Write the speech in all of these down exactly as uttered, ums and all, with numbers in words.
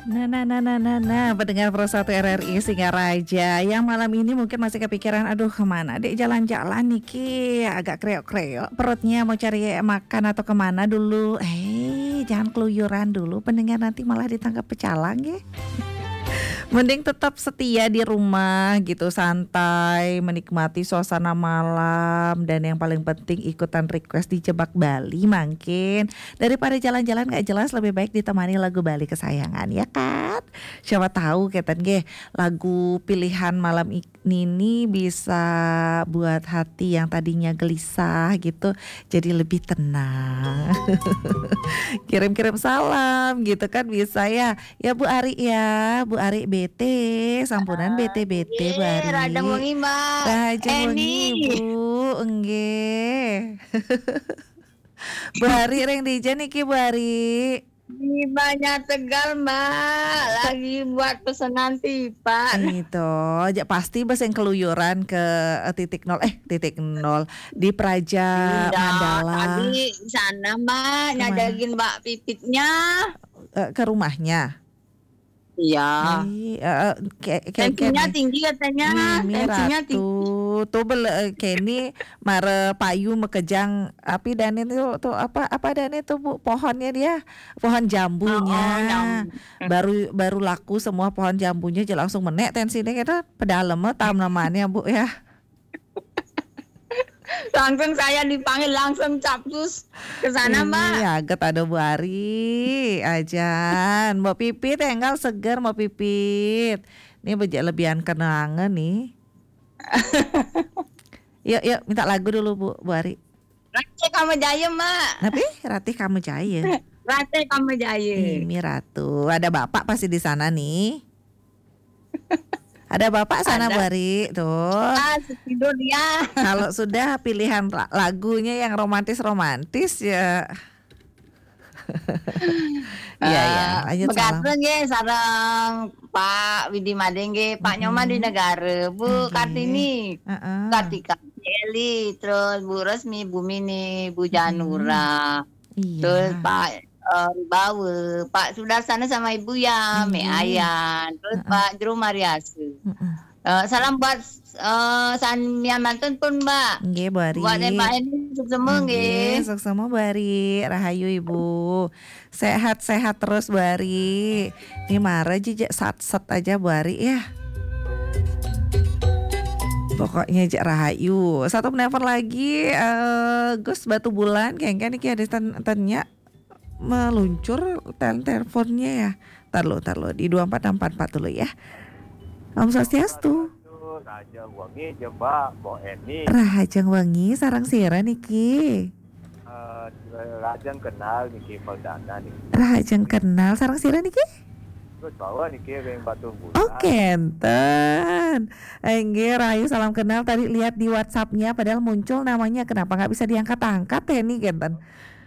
Nah, nah, nah, nah, nah, nah, pendengar Pro satu R R I Singaraja yang malam ini mungkin masih kepikiran, "Aduh, kemana dek jalan-jalan niki? Agak kreok-kreok perutnya, mau cari makan atau kemana dulu." Eh, jangan keluyuran dulu, pendengar, nanti malah ditangkap pecalang ya. Mending tetap setia di rumah gitu, santai, menikmati suasana malam, dan yang paling penting ikutan request di Jebak Bali mungkin. Daripada jalan-jalan nggak jelas, lebih baik ditemani lagu Bali kesayangan, ya kan? Siapa tahu keten nggih, lagu pilihan malam ik-, nini bisa buat hati yang tadinya gelisah gitu jadi lebih tenang. Kirim-kirim salam gitu kan bisa ya. Ya Bu Ari ya, Bu Ari bete, sampunan bete-bete Bu Ari. Rajang wengi, Mbak. Rajang wengi, Bu. Enggih. Bu Ari ring dija niki, Bu Ari? Di Banjar Tegal, Mbak. Lagi buat pesanan tipak. Itu, aja pasti bes yang keluyuran ke, eh, titik nol, eh, titik nol. Di Praja Mandala. Tadi sana, Mbak, nyajagin Mbak Pipitnya. Eh, ke rumahnya? Iya. Ih, eh, eh, ke, ke, tensinya tinggi katanya. Mimi Ratu. Tuh bele, eh, Kenny mare payu mekejang api dane tuh, tuh apa, apa dane tuh, Bu? Pohonnya dia, pohon jambunya. Oh, oh, baru, baru laku semua pohon jambunya aja langsung menek tensinya kita. Pedalem tam namanya, Bu, ya. Langsung saya dipanggil, langsung capcus ke sana, Mbak. Iya, get ada Bu Ari, ajan. Mbak Pipit, enggal seger, Mbak Pipit. Ini bejak lebihan kenangan nih. Yuk, yuk, minta lagu dulu, Bu, Bu Ari. Ratih Kamu Jaya, Mbak. Tapi Ratih Kamu Jaya. Ratih Kamu Jaya. Ini Ratu. Ada Bapak pasti di sana nih. Ada Bapak sana, Bu Ari, tuh. Ah, tidur dia. Kalau sudah pilihan la-, lagunya yang romantis-romantis ya. Iya, iya. Eh, lanjut salam. Megatreng nggih, sareng Pak Widi Madé nggih, Pak Nyoman di Negara, Bu Kartini, Kartika, Eli, terus Bu Resmi, Bu Mini, Bu Janura. Iya. Terus Pak, eh, Rubawa, Pak Sudarsana sama Ibu ya, Mek Ayan, terus Pak Jero Mariasa. Eh, salam buat, eh, samian mantun pun, Mbak. Nggih, Bu Ari. Buat Mbak Eni, sukses nggih. Nggih, sukses, Bu Ari. Rahayu, Ibu. Sehat-sehat terus, Bu Ari. Ini mara aja, satset aja, Bu Ari, ya. Pokoknya aja rahayu. Satu penelpon lagi, eh, Gus Batubulan, kengken iki ada ten-, tanya meluncur tel-, teleponnya ya. Tar lo, tar lo. Di dua empat enam empat empat dulu ya. Om Swastiastu. Rahajeng wengi, Mbak, Mbok Eni. Rahajeng wengi, sareng sira niki? Eh, rahajeng kenal niki, Perdana niki. Rahajeng kenal, sareng sira niki? Gus Bawa niki ring Batu Bulan. Oh, kenten. Inggih, rahayu salam kenal. Tadi lihat di WhatsApp-nya, padahal muncul namanya. Kenapa nggak bisa diangkat-angkat ya, nih, kenten?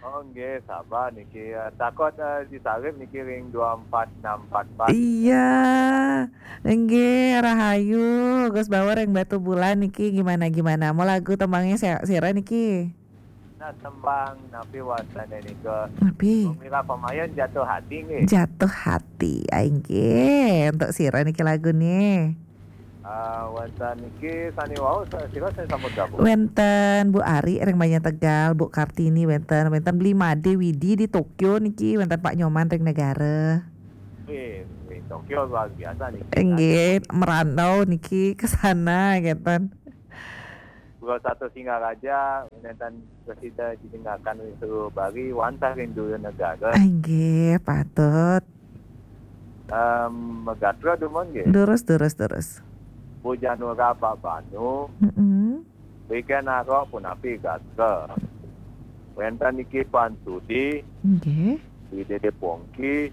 Oh, nggih, sabar niki. Eh, takut, eh, disalib niki ring dua empat enam empat empat. Iya. Nggih, rahayu. Gus Bawa ring Batu Bulan niki gimana-gimana? Mau lagu tembangnya si-, sira niki? Nah, tembang napi wastane nika? Napi? Mira Pamayan, Jatuh Hati nggih. Jatuh Hati. Ah, inggih. Untuk sira niki lagune? Ah, wonten niki sani wau, sa-, sira sing sampun gabung? Wenten Bu Ari ring Banjar Tegal, Bu Kartini wenten, wenten Bli Made Widi di Tokyo niki, wenten Pak Nyoman ring Negara. Wih, wih, Tokyo luar biasa niki. Nggih, merantau niki ke sana, ngeten. Pulau Satu Singaraja, wenten Presida didengarkan oleh seluruh Bali, wantah ring dulu negara. Inggih, patut. Em, megatra dumun nggih. Durus, durus, durus. Bu Janura Pak Banu. Mm-mm. Wiken Arok punapi gatra. Wenten niki Pan Sudi. Nggih. Di Dede Pongki.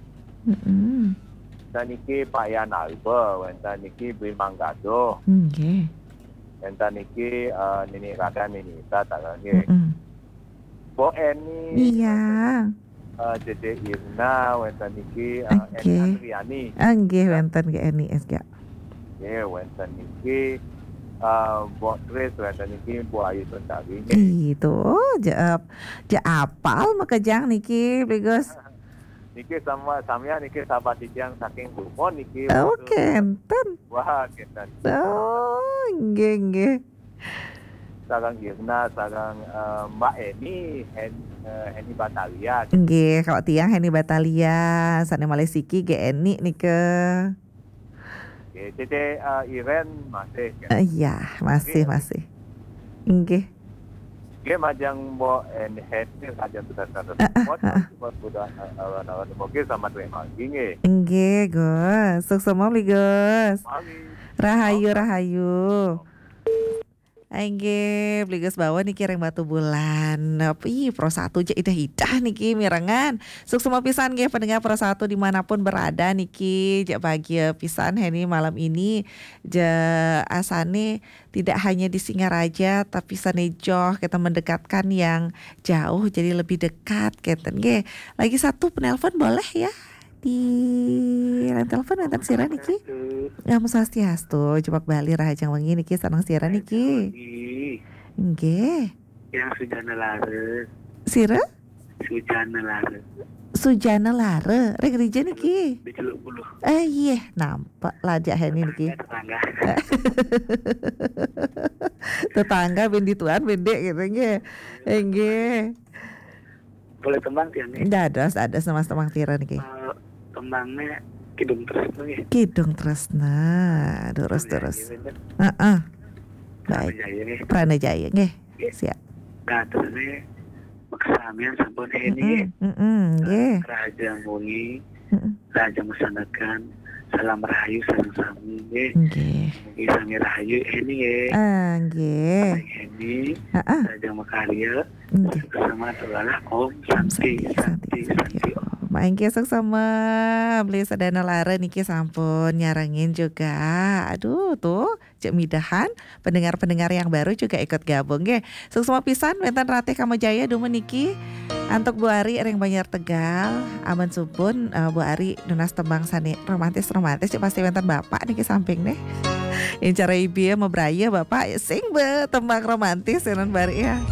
Mm-mm. Wenten niki Pak Yan Alba, wenten niki Bli Manggado. Nggih. Wenten niki, eh, Nini Rakan, Nini Ita, tak nggih. Mm-mm. Bu Eni. Iya. Eh, Dede Irna, wenten niki, eh, Eni Oke. Andriani. Ah, nggih, wenten nggih Eni S K. Nggih, wenten niki, eh, Mbok Tris, wenten niki Bu Ayu Sundari. Itu, je, eh, je apal makejang niki, Bli Gus. Niki sama samian niki sahabat titiang saking Dumon niki. Oh, kénten. Wah, kénten. Oh, nggih, nggih. Sareng Irna, sareng, eh, Mbak Eni, Hen-, eh, Heni Batalia. Nggih, kalau tiang Heni Batalia, sané malih siki nggih Eni nika. Nggih, Cece, eh, Iren masih. Eh, iya, masih, nggih, masih. Nggih. Nggih, majeng Mbok Eni, Heni, majeng sudah, sudah. Eh, eh, sudah, eh, sudah, eh, eh, nggih, selamat sore pagi, nggih. Nggih, Gus. Suksma, Bli Gus. Pagi. Rahayu, rahayu. Inggih, Bli Gus Bawon niki ring Batubulan. Ih, Pro Satu ja idah-idah niki mirengang. Suksma pisan nggih pendengar Pro Satu dimanapun berada niki. Ja bahagia pisan Heni malam ini. Ja asané tidak hanya di Singaraja tapi sané joh kita mendekatkan yang jauh jadi lebih dekat kénten nggih. Lagi satu penelpon boleh ya? Di line telepon wénten sira niki? Om Swastiastu, jebak Bali rahajeng wengi niki sareng sira niki? Nggih. Yang Sujana Lara. Sira? Sujana Lara. Sujana Lara, ring dija niki? Di Celuk Buluh. Eh, iya, nampak lajak Heni niki. Tetangga, tetangga. Tetangga ben dituan ben dik gitu nggih. Nggih. Boleh tembang tiang nih. Dados, dados nama tembang tira niki. Eh, tembangnya Kidung Tresna nggih. Kidung Tresna. Durus, durus. Heeh. Baik. Pranajaya nggih. Pranajaya nggih. Nggih. Siap. Nah, terus ini makasamian sampun ini nggih. Heeh, nggih. Rahajeng wengi. Heeh. Rahajeng masandekan. Salam rahayu sareng sami nggih. Nggih. Mugi sami rahayu ini nggih. Ah, nggih. Ini. Heeh. Rahajeng makarya. Nggih. Sama tulalah Om Santi, Santi, Santi, Santi, Santi, Om. Om. Maingke suksma, Bli Sujana Lara niki sampun nyarengin juga. Aduh, tuh, cek midahan, pendengar-pendengar yang baru juga ikut gabung nggih. Suksma pisan wénten Ratih Kamajaya dumun niki. Antuk Bu Ari ring Banjar Tegal, amun sumpun, eh, Bu Ari nunas tembang sané romantis-romantis, cek pasti wénten Bapak niki samping nih. Incara ibu ya, mabraya Bapak, sing be tembang romantis ya, non Bari ya.